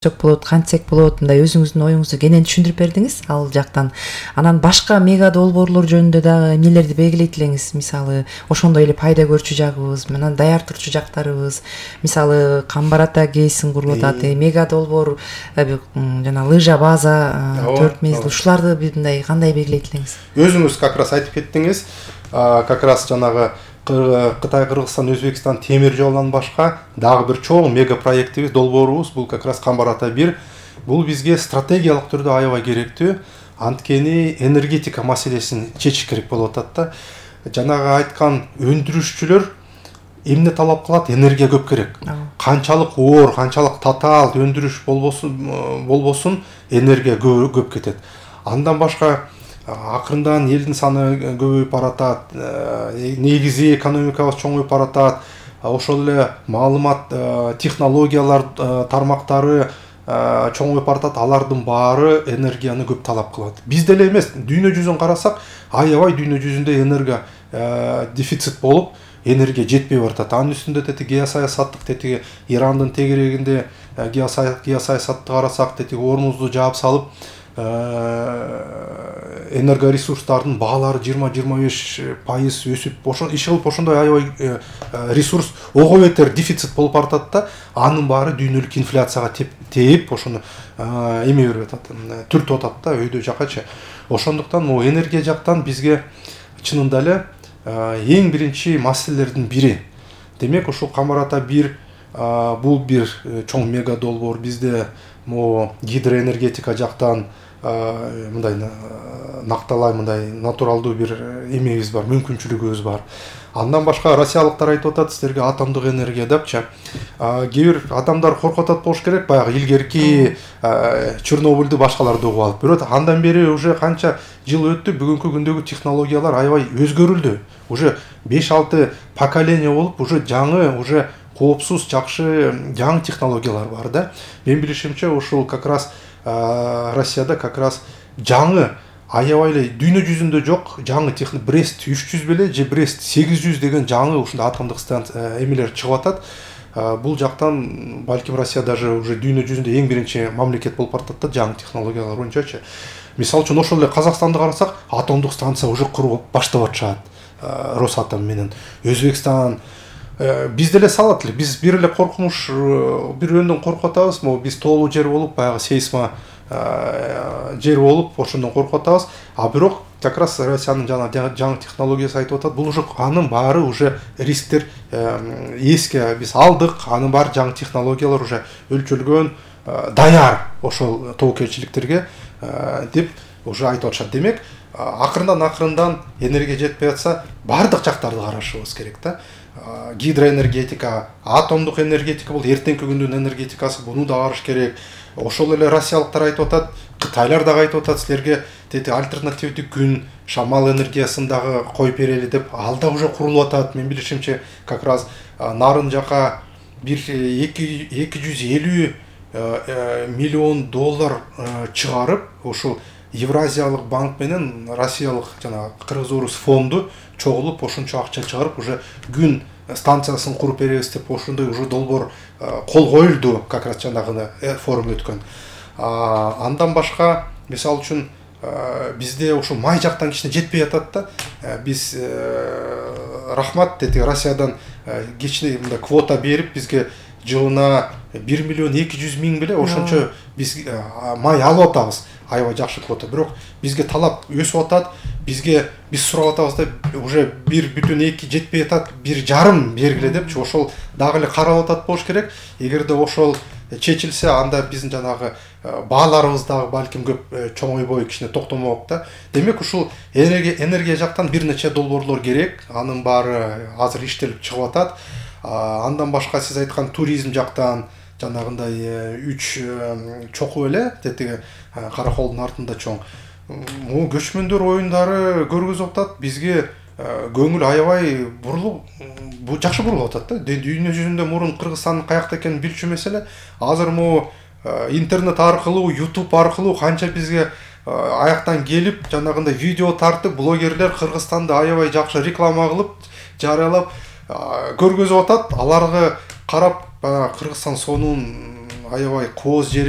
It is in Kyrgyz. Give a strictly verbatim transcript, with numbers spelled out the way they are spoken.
болот, кантсек болот, мындай өзүңүздүн оюңузду кенен түшүндүрүп бердиңиз ал жактан. Анан башка мега долбоорлор жөнүндө дагы эмнелерди белгилейт элеңиз? Мисалы, ошондой эле пайда көрчү жагыбыз, анан даяр турчу жактарыбыз. Мисалы, Камбар ата кейсин куруп атат, мега долбоор, жана лыжа база, төрт мезгил, ушуларды мындай кандай белгилейт элеңиз? Өзүңүз как раз айтып кеттиңиз. Как раз жанагы Кытай, Кыргызстан, Өзбекстан темир жолунан башка дагы бир чоң мега проектибиз, долбоорубуз, бул как раз Камбар ата бир. Бул бизге стратегиялык түрдө аябай керектүү. Анткени энергетика маселесин чечиш керек болуп атат да. Жанагы айткан өндүрүшчүлөр эмне талап кылат? Энергия көп керек. Канчалык оор, канчалык татаал өндүрүш болбосун, болбосун энергия көп кетет. Андан башка акырындан элдин саны көбөйүп баратат, негизи экономикабыз чоңоюп баратат, ошол эле маалымат технологиялар тармактары чоңоюп баратат, алардын баары энергияны көп талап кылат. Биз деле эмес, дүйнө жүзүн карасак, аябай дүйнө жүзүндө энергия дефицит болуп, энергия жетпей баратат. Анын үстүндө тети геосаясаттык, тети Ирандын тегерегинде геосаясатты карасак, тети орнубузду жаап салып, энергоресурстардын баалары жыйырма жыйырма беш пайыз өсүп, иш кылып ошондой аябай ресурс ого бетер дефицит болуп баратат да, анын баары дүйнөлүк инфляцияга тээп, ошону эме берип атат, түртүп атат да өйдө жакачы. Ошондуктан могу энергия жактан бизге чынында эле эң биринчи маселелердин бири. Демек, ушул Камбар ата бир бул бир чоң мега долбоор. Бизде могу гидроэнергетика жактан мындай накталай, мындай натуралдуу бир эмебиз бар, мүмкүнчүлүгүбүз бар. Андан башка россиялыктар айтып атат силерге атомдук энергия депчи. Кээ бир адамдар коркуп атат болуш керек, баягы илгерки Чернобыльды башкаларды угуп алып. Бирок андан бери уже канча жыл өттү, бүгүнкү күндөгү технологиялар аябай өзгөрүлдү. Уже беш алты поколение болуп, уже жаңы, уже коопсуз, жакшы жаңы технологиялар бар да. Мен билишимче, ушул как раз Россияда как раз жаңы аябай эле дүйнө жүзүндө жок жаңы техник Брест үч жүз беле же Брест сегиз жүз деген жаңы ушундай атомдук станция эмелер чыгып атат. Бул жактан балким Россия даже уже дүйнө жүзүндө эң биринчи мамлекет болуп баратат да жаңы технологиялар боюнчачы. Мисалы үчүн ошол эле Казакстанды карасак, атомдук станция уже куруп баштап атышат Росатом менен. Өзбекстан биз деле салат эле, биз бир эле коркунуч, бир өндөн коркуп атабыз, могу биз тоолуу жер болуп, баягы сейсма жер болуп, ошондон коркуп атабыз. А бирок как раз Россиянын жана жаңы технологиясы айтып атат, бул уже анын баары уже рисктер эске биз алдык, анын баары жаңы технологиялар уже өлчөлгөн, даяр ошол тобокелчиликтерге деп уже айтып атышат. Демек, акырындан акырындан энергия жетпей атса, бардык жактарды карашыбыз керек да. Гидроэнергетика, атомдук энергетика бул эртеңки күндүн энергетикасы, буну да караш керек. Ошол эле россиялыктар айтып атат, кытайлар дагы айтып атат, силерге тети альтернативдүү күн, шамал энергиясын дагы коюп берели деп, ал да уже курулуп атат. Мен билишимче, как раз нарын жака бир эки жүз элүү миллион доллар чыгарып, ушул Евразиялык банк менен Россиялык жана Кыргыз-Орус фонду чогулуп, ошончо акча чыгарып, уже күн станциясын куруп беребиз деп, ошондой уже долбоор кол коюлду, как раз жанагы форум өткөн. Андан башка, мисалы үчүн, бизде ошо май жактан кичине жетпей атат да. Биз рахмат деди, Россиядан кичине мындай квота берип, бизге жылына бир миллион эки жүз миң беле ошончо биз май алып атабыз. Аябай жакшы квота. Бирок бизге талап өсүп атат. Бизге биз сурап атабыз да, уже бир бүтүн эки жетпей атат, бир жарым бергиле депчи, ошол дагы эле каралып атат болуш керек. Эгерде ошол чечилсе, анда биздин жанагы бааларыбыз дагы балким көп чоңойбой, кичине токтомок да. Демек, ушул энергия энергия жактан бир нече долбоорлор керек. Анын баары азыр иштелип чыгып атат. Андан башка сиз айткан туризм жактан жанагындай үч чокуу эле, тетиги Караколдун артында чоң. Могу көчмөндөр оюндары көргөзүп атат. Бизге көңүл аябай бурулуп, бу жакшы бурулуп атат да. Дүйнө жүзүндө мурун Кыргызстандын каякта экенин билчү эмес эле. Азыр могу интернет аркылуу, YouTube аркылуу канча бизге аяктан келип, жанагындай видео тартып, блогерлер Кыргызстанды аябай жакшы реклама кылып, жарыялап көргөзүп атат. Аларга карап, Кыргызстан сонун аябай кооз жер